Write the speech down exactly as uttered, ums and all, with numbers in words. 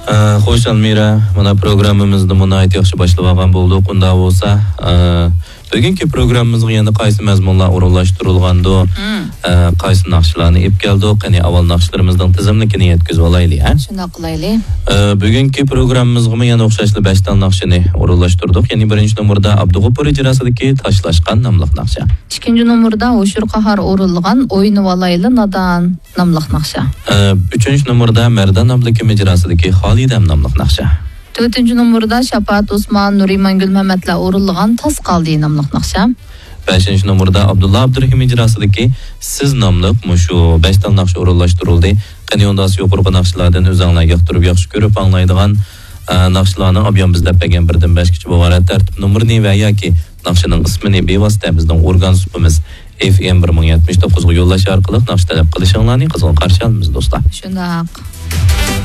ئە، خوش، ئەلمىرە، مانا پروگراممىمىزنى ناھايىتى ياخشى باشلاپ ئالغان بولدۇق. ئۇنداق بولسا، ئە، بۈگۈنكى پروگراممىمىزغا يەنە قايسى مەزمۇنلار ئورۇنلاشتۇرۇلغاندۇ؟ مم. ئە، قايسى ناخشىلارنى ئېلىپ كەلدۇق؟ قېنى، ئاۋۋال ناخشىلىرىمىزنىڭ تىزىملىكىنى يەتكۈزۈپ ئالايلى، ھە؟ شۇنداق قىلايلى. ئە، بۈگۈنكى پروگراممىمىزغىمۇ يەنە ئوخشاشلا بەش تال ناخشىنى ئورۇنلاشتۇردۇق. يەنى بىرىنچى نومۇردا ئابدۇغوپۇر ئىجراسىدىكى تاشلاشقان ناملىق ناخشا. ئىككىنچى نومۇردا ھوشۇر قاھار ئورۇنلىغان ئوينىۋالايلى نادان ناملىق ناخشا. ئە، ئۈچىنچى نومۇردا مەردان ئابلىكىم ئىجراسىدىكى خالىدەم ناملىق ناخشا. تۆتىنچى نومۇردا شاپائەت ئوسمان، نۇرىمان گۈلمەمەتلەر ئورۇنلىغان تاس قالدى ناملىق ناخشا. بەشىنچى نومۇردا ئابدۇللا ئابدۇرېھىم ئىجراسىدىكى سىز ناملىق مۇشۇ بەش تال ناخشا ئورۇنلاشتۇرۇلدى. قېنى ئۇنداق يۇقىرىقى ناخشىلاردىن ئۆزۈڭلار ياقتۇرۇپ ياخشى كۆرۈپ ئاڭلايدىغان، ئە، ناخشىلارنىڭ ئابىيان بىزلەپ بەرگەن بىردىن بەشكىچە بۇ ئىبارەت تەرتىپ نومۇرىنى ۋە ياكى ناخشىنىڭ ئىسمىنى بىۋاسىتە بىزنىڭ ئورگان سۇپىمىز ئېف ئېم بىر مىڭ يەتمىش توققۇزغا يوللاش ئارقىلىق ناخشا تەلەپ قىلىشىڭلارنى قىزغىن قارشى ئالىمىز، دوستلار. شۇنداق.